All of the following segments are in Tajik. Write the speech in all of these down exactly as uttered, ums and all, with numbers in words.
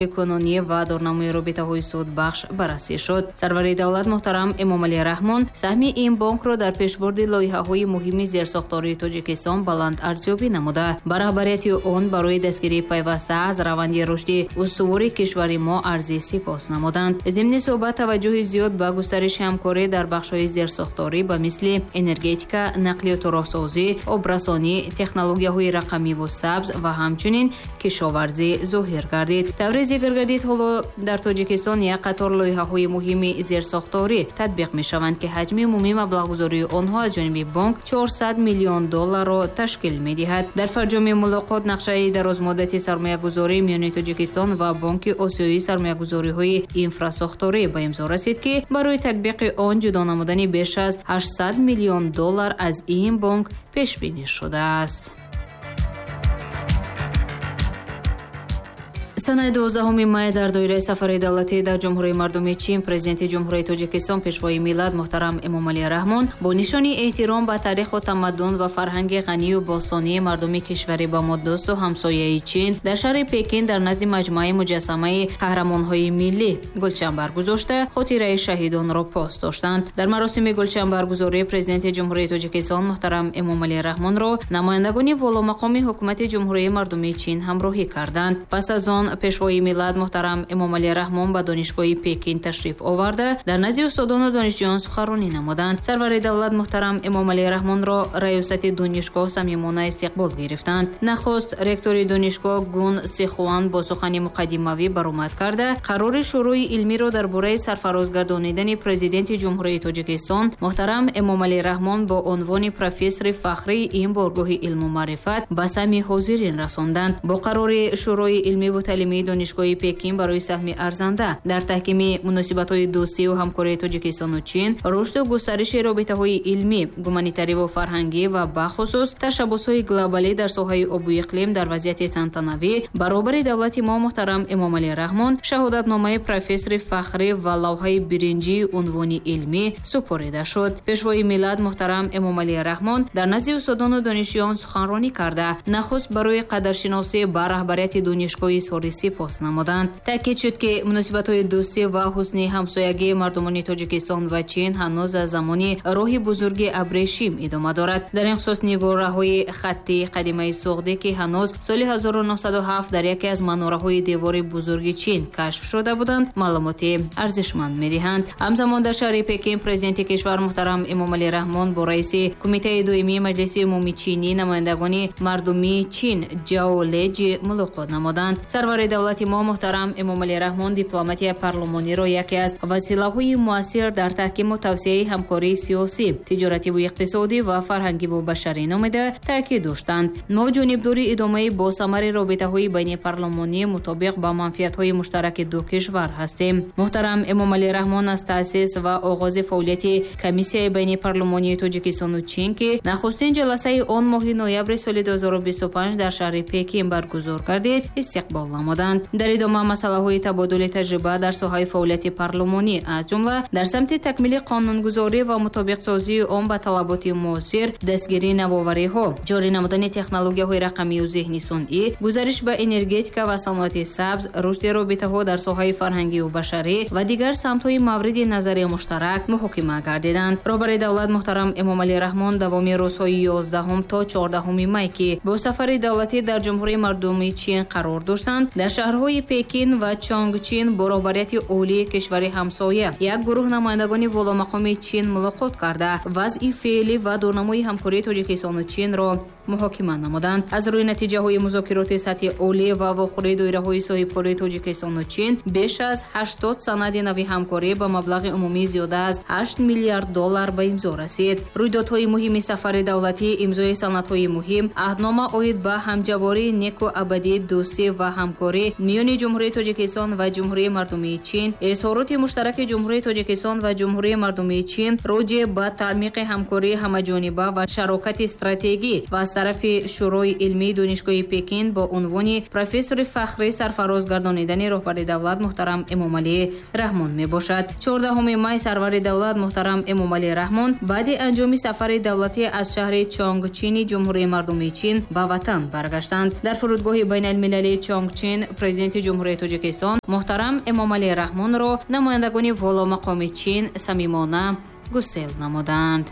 Кунунӣ ва дурнамои робитаҳои судбахш баррасӣ шуд. Сарвари давлат муҳтарам Эмомалӣ Раҳмон саҳми ин бонкро дар пешбурди лоиҳаҳои муҳими зерсохтории Тоҷикистон баланд арзёбӣ намуда, ба раҳбарияти он барои дастгирии пайваста аз раванди рушди устувори кишвари мо арзи сипос намуданд. Зимни суҳбат таваҷҷӯҳи зиёд ба густариши ҳамкорӣ дар бахшҳои зерсохторӣ ба мисли энергетика, нақлиёту роҳсозӣ, обрасонӣ, технологияҳои рақамиву сабз ва ҳамчунин кишоварзӣ зоҳир гардид. Таври зикр гардид, ҳоло дар Тоҷикистон як қатор лоиҳаҳои муҳими зерсохторӣ татбиқ мешаванд, ки ҳаҷми умумии маблағгузории онҳо аз ҷониби бонк чорсад миллион долларро ташкил медиҳад. Дар фарҷоми мулоқот нақшаи дарозмуддати сармоягузорӣ миёни Тоҷикистон ва Бонки Осиёии сармоягузориҳои инфрасохторӣ ба имзо расид, ки барои татбиқи он ҷудо намудани беш аз ҳаштсад миллион доллар аз ин бонк пешбинӣ шудааст. Санаи дувоздаҳуми май дар доираи сафари давлатӣ дар Ҷумҳурии Мардумии Чин Президенти Ҷумҳурии Тоҷикистон Пешвои миллат муҳтарам Эмомалӣ Раҳмон бо нишони эҳтиром ба таъриху тамаддун ва фарҳанги ғанию бостонии мардуми кишвари ба мо дӯсту ҳамсояи Чин дар шаҳри Пекин дар назди маҷмӯаи муҷассамаи қаҳрамонҳои миллӣ гулчанбар гузошта, хотираи шаҳидонро пос доштанд. Дар маросими гулчанбаргузорӣ Президенти Ҷумҳурии Тоҷикистон муҳтарам Эмомалӣ Раҳмонро намояндагони воломақоми ҳукумати Ҷумҳурии Мардумии Чин ҳамроҳӣ карданд. Пас аз он Пешвои миллат муҳтарам Эмомалӣ Раҳмон ба донишгоҳи Пекин ташриф оварда, дар назди устодону донишҷӯён суханронӣ намуданд. Сарвари давлат муҳтарам Эмомалӣ Раҳмонро раёсати донишгоҳ самимона истиқбол гирифтанд. Нахуст ректори донишгоҳ Гун Сихуан бо сухани муқаддимавӣ баромад карда, қарори Шӯрои илмиро дар бораи сарфароз гардонидани Президенти Ҷумҳурии Тоҷикистон муҳтарам Эмомалӣ Раҳмон бо унвони профессори фахрии ин боргоҳи илму маърифат ба самъи ҳозирин расонданд. Бо қарори Шӯрои илмиву таълимии донишгоҳи Пекин барои саҳми арзанда дар таҳкими муносибатҳои дӯстию ҳамкории Тоҷикистону Чин, рушду густариши робитаҳои илмӣ, гуманитариву фарҳангӣ ва бахусус ташаббусҳои глобалӣ дар соҳаи обу иқлим дар вазъияти тантанавӣ баробари давлати мо муҳтарам Эмомалӣ Раҳмон шаҳодатномаи профессори фахрӣ ва лавҳаи биринҷии унвони илмӣ супорида шуд. Пешвои миллат муҳтарам Эмомалӣ Раҳмон дар назди устодону донишҷӯён суханронӣ карда, нахуст барои қадршиносӣ ба раҳбарияти донишгоҳи изҳори сипос намуданд. Таъкид шуд, ки муносибатҳои дӯстӣ ва ҳусни ҳамсоягии мардумони Тоҷикистон ва Чин ҳанӯз аз замони роҳи бузурги абрешим идома дорад. Дар ин хусус нигораҳои хаттии қадимаи суғдӣ, ки ҳанӯз соли ҳазору нӯҳсаду ҳафт дар яке аз манораҳои девори бузурги Чин кашф шуда буданд, маълумоти арзишманд медиҳанд. Ҳамзамон дар шаҳри Пекин Президенти кишвар муҳтарам Эмомалӣ Раҳмон бо раиси Кумитаи доимии Маҷлиси умумии чинӣ намояндагони мардумии Чин Ҷао Леҷи мулоқот намуданд. Сарвари давлати мо муҳтарам Эмомалӣ Раҳмон дипломатияи парлумониро яке аз василаҳои муассир дар таҳкиму тавсияи ҳамкории сиёсӣ, тиҷоративу иқтисодӣ ва фарҳангиву башарӣ номида таъкид доштанд. Мо ҷонибдори идомаи босамари робитаҳои байнипарлумонӣ мутобиқ ба манфиатҳои муштараки ду кишвар ҳастем. Муҳтарам Эмомалӣ Раҳмон аз таъсис ва оғози фаъолияти Комиссияи байнипарлумонии Тоҷикистону Чин, ки нахустин ҷаласаи он моҳи ноябри соли ду ҳазору бисту панҷ дар шаҳри Пекин баргузор гардид, истиқбол намуданд. Дар идома масъалаҳои табодули таҷриба дар соҳаи фаъолияти парлумонӣ, аз ҷумла дар самти такмили қонунгузорӣ ва мутобиқсозии он ба талаботи муосир, дастгирии навовариҳо, ҷорӣ намудани технологияҳои рақамию зеҳни сунъӣ, гузариш ба энергетика ва саноати сабз, рушди робитаҳо дар соҳаи фарҳангию башарӣ ва дигар самтҳои мавриди назари муштарак муҳокима гардиданд. Роҳбари давлат муҳтарам Эмомалӣ Раҳмон давоми рӯзҳои ёздаҳум то чордаҳуми май, ки бо сафари давлатӣ дар Ҷумҳурии Мардумии Чин қарор доштанд, дар шаҳрҳои Пекин ва Чонгчин бо роҳбарияти олии кишвари ҳамсоя як гурӯҳ намояндагони воломақоми Чин мулоқот карда, вазъи феълӣ ва дурнамои ҳамкории Тоҷикистону Чинро муҳокима намуданд. Аз рӯи натиҷаҳои музокироти сатҳи олӣ ва вохӯрии доираҳои соҳибкории Тоҷикистону Чин беш аз ҳаштод санади нави ҳамкорӣ ба маблағи умумии зиёда аз ҳашт миллиард доллар ба имзо расид. Рӯйдодҳои муҳими сафари давлатӣ, имзои санадҳои муҳим, аҳднома оид ба ҳамҷавории неку абадии дӯстӣ ва ҳамкорӣ миёни Ҷумҳурии Тоҷикистон ва Ҷумҳурии Мардумии Чин, изҳороти муштараки Ҷумҳурии Тоҷикистон ва Ҷумҳурии Мардумии Чин роҷеъ ба таъмиқи ҳамкории ҳамаҷониба ва шарокати стратегӣ ва аз тарафи Шӯрои илмии донишгоҳи Пекин бо унвони профессори фахрӣ сарфароз гардонидани роҳбари давлат муҳтарам Эмомалӣ Раҳмон мебошад. чордаҳуми май сарвари давлат муҳтарам Эмомалӣ Раҳмон баъди анҷоми сафари давлатӣ аз шаҳри Чонгчини Ҷумҳурии Мардумии Чин ба ватан баргаштанд. Дар фурудгоҳи байналмилалии Чонгчин Чин Президенти Ҷумҳурии Тоҷикистон муҳтарам Эмомалӣ Раҳмонро намояндагони воломақоми Чин самимона гусел намуданд.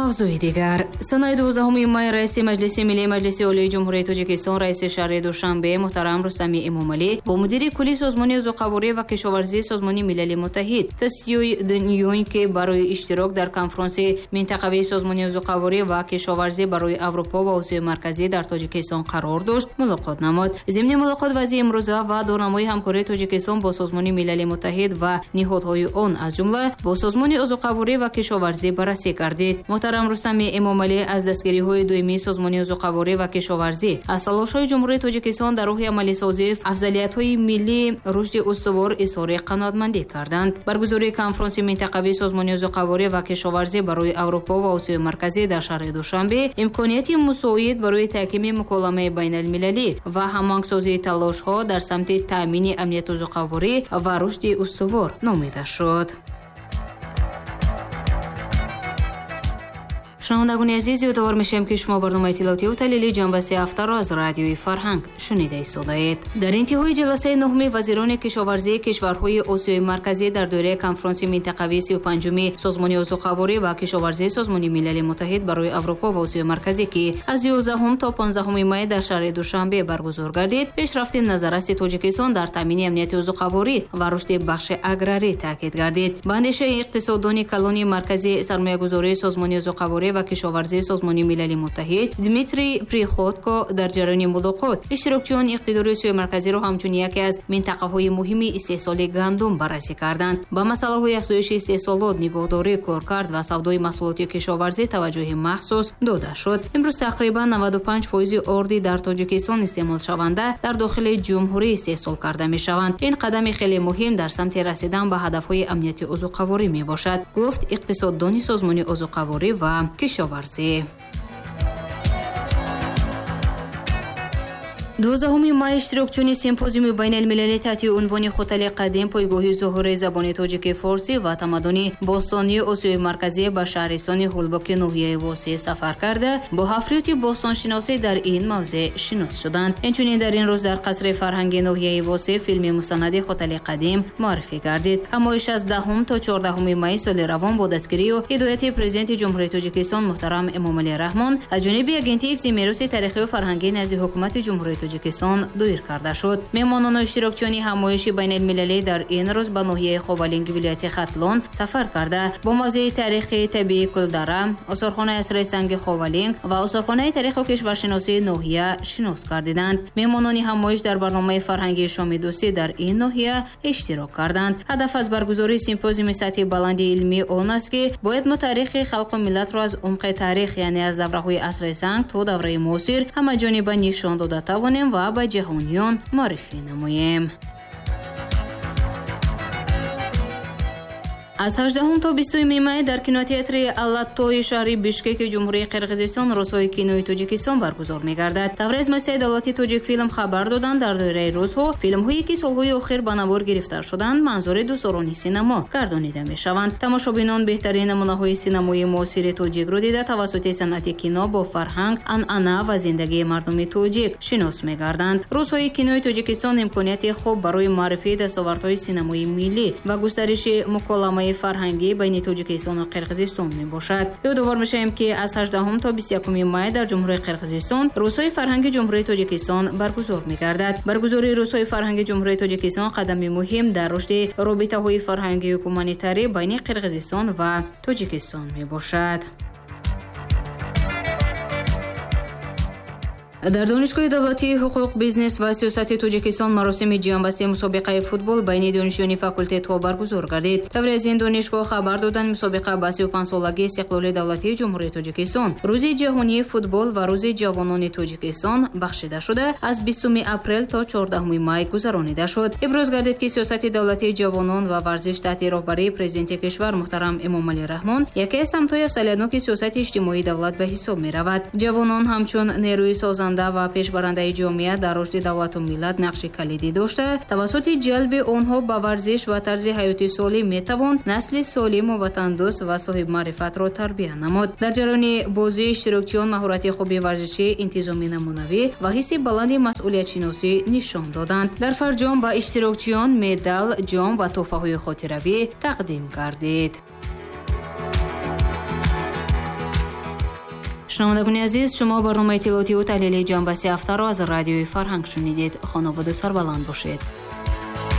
Мавзӯи дигар. Санаи дувоздаҳуми май раиси Маҷлиси Миллии Маҷлиси Олии Ҷумҳурии Тоҷикистон, раиси шаҳри Душанбе муҳтарам Рустами Эмомалӣ бо мудири кулли Созмони озуқаворӣ ва кишоварзии Созмони Милали Муттаҳид Тсюй Дунюнь, ки барои иштирок дар конфронси минтақавии Созмони озуқаворӣ ва кишоварзӣ барои Аврупо ва Осиёи Марказӣ дар Тоҷикистон қарор дошт, мулоқот намуд. Зимни мулоқот вазъи имрӯза ва дурнамои ҳамкории Тоҷикистон бо Созмони Милали Муттаҳид ва ниҳодҳои он, аз ҷумла бо Созмони озуқаворӣ ва кишоварзӣ баррасӣ гардид. Муҳтарам Рустами Эмомалӣ аз дастгириҳои доимии Созмони озуқаворӣ ва кишоварзӣ, аз талошҳои Ҷумҳурии Тоҷикистон дар роҳи амалисозии афзалиятҳои миллии рушди устувор изҳори қаноатмандӣ карданд. Баргузории конфронси минтақавии Созмони озуқаворӣ ва кишоварзӣ барои Аврупо ва Осиёи Марказӣ дар шаҳри Душанбе имконияти мусоид барои таҳкими муколамаи байналмилалӣ ва ҳамоҳангсозии талошҳо дар самти таъмини амнияти озуқаворӣ ва рушди устувор номида шуд. Шунавандагони азиз, ёдовар мешавем, ки шумо барномаи иттилоотиву таҳлили ҷанбаси ҳафтаро аз радиои Фарҳанг шунида истодаед. Дар интиҳои ҷаласаи нуҳуми вазирони кишоварзии кишварҳои Осиёи Марказӣ дар доираи конфронси минтақавии сию панҷуми Созмони озуқаворӣ ва кишоварзии Созмони Милали Муттаҳид барои Аврупо ва Осиёи Марказӣ, ки аз ёздаҳум то понздаҳуми май дар шаҳри Душанбе баргузор гардид, пешрафти назаррасти Тоҷикистон дар таъмини амнияти озуқаворӣ ва рушди бахши аграрӣ таъкид гардид. Ба андешаи иқтисоддони калони Маркази сармоягузории Созмони озуқаворӣ ва кишоварзии Созмони Милали Муттаҳид Дмитрий Приходко дар ҷараёни мулоқот иштирокчиён иқтидори Осиёи Марказиро ҳамчун яке аз минтақаҳои муҳими истеҳсоли гандум баррасӣ карданд. Ба масъалаҳои афзоиши истеҳсолот, нигоҳдорӣ, коркард ва савдои маҳсулоти кишоварзӣ таваҷҷӯҳи махсус дода шуд. Имрӯз тақрибан наваду панҷ фоизи орди дар Тоҷикистон истеъмолшаванда дар дохили ҷумҳурӣ истеҳсол карда мешаванд. Ин қадами хеле муҳим дар самти расидан ба ҳадафҳои амнияти озуқаворӣ мебошад, гуфт иқтисоддони Созмони озуқаворӣ ва кишоварзӣ. дувоздаҳуми май иштирокчиёни симпозиуми байналмилалӣ таҳти унвони Хотали қадим, пойгоҳи зуҳури забони тоҷики форсӣ ва тамаддуни бостонии Осиёи Марказӣ ба шаҳристони Ҳулбоки ноҳияи Восеъ сафар карда, бо ҳафриёти бостоншиносӣ дар ин мавзеъ шинос шуданд. Инчунин дар ин рӯз дар қасри фарҳанги ноҳияи Восеъ филми мустанади Хотали қадим муаррифӣ гардид. Ҳамоиш аз даҳум то чордаҳуми май соли равон бо дастгирию ҳидояти Президенти Ҷумҳурии Тоҷикистон муҳтарам Эмомалӣ Раҳмон аз ҷониби Агентии ҳифзи мероси таърихию фарҳангӣ назди Ҳукумати Ҷумҳурии Тоҷикистон доир карда шуд. Меҳмонону иштирокчиёни ҳамоиши байналмилалӣ дар ин рӯз ба ноҳияи Ховалинги вилояти Хатлон сафар карда, бо мавзеи таърихи табиии Кулдара, осорхонаи асри санги Ховалинг ва осорхонаи таъриху кишваршиносии ноҳия шинос гардиданд. Меҳмонони ҳамоиш дар барномаи фарҳангии шоми дӯстӣ дар ин ноҳия иштирок карданд. Ҳадаф аз баргузории симпозиуми сатҳи баланди илмӣ он аст, ки бояд мо таърихи халқу миллатро аз умқи таърих, яъне аз давраҳои асри санг то давраи муосир, ҳамаҷониба нишон дода тавонем ва ба ҷаҳониён муаррифӣ намоем. Аз ҳаждаҳум то бистуюми май дар кинотеатри Аллатои шаҳри Бишкеки Ҷумҳурии Қирғизистон рӯзҳои кинои Тоҷикистон баргузор мегардад. Тавре аз муассисаи давлатии Тоҷикфилм хабар доданд, дар доираи рӯзҳо филмҳое ки солҳои охир ба навор гирифта шуданд, манзури дӯстдорони синамо гардонида мешаванд. Тамошобинон беҳтарин намунаҳои синамои муосири тоҷикро дида, тавассути санъати кино бо фарҳанг, анъана ва зиндагии мардуми тоҷик шинос мегарданд. Рӯзҳои кинои Тоҷикистон имконияти хуб барои муаррифии дастовардҳои синамои миллӣ ва густариши муколамаи фарҳангӣ байни Тоҷикистону Қирғизистон мебошад. Ёдовар мешавем, ки аз ҳаждаҳум то бисту якуми май дар Ҷумҳурии Қирғизистон рӯзҳои фарҳанги Ҷумҳурии Тоҷикистон баргузор мегардад. Баргузории рӯзҳои фарҳанги Ҷумҳурии Тоҷикистон қадами муҳим дар рушди робитаҳои фарҳангию гуманитарӣ байни Қирғизистон ва Тоҷикистон мебошад. Дар Донишгоҳи давлатии ҳуқуқ, бизнес ва сиёсати Тоҷикистон маросими ҷамъбасти мусобиқаи футбол байни донишҷӯёни факултетҳо баргузор гардид. Тавре аз ин донишгоҳ хабар доданд, мусобиқа ба сию панҷсолагии истиқлоли давлатии Ҷумҳурии Тоҷикистон, Рӯзи ҷаҳонии футбол ва Рӯзи ҷавонони Тоҷикистон бахшида шуда, аз бистуми апрел то чордаҳуми май гузаронида шуд. Иброз гардид, ки сиёсати давлатии ҷавонон ва варзиш таҳти роҳбарии Президенти кишвар муҳтарам Эмомалӣ Раҳмон яке аз самтҳои афзалиятноки сиёсати иҷтимоии давлат ба ҳисоб меравад. Ҷавонон ҳамчун нерӯи созанда Ташкилкунанда ва пешбарандаи ҷомеа дар рушди давлату миллат нақши калидӣ дошта, тавассути ҷалби онҳо ба варзиш ва тарзи ҳаёти солим метавон насли солиму ватандӯст ва соҳибмаърифатро тарбия намуд. Дар ҷараёни бозӣ иштирокчиён маҳорати хуби варзишӣ, интизоми намунавӣ ва ҳисси баланди масъулиятшиносӣ нишон доданд. Дар фарҷом ба иштирокчиён медал, ҷом ва тӯҳфаҳои хотиравӣ тақдим гардид. Шунавандагони азиз, шумо барномаи иттилоотиву таҳлили ҷанбаси ҳафтаро аз радиои Фарҳанг шунидед. Хонободу сарбаланд бошед.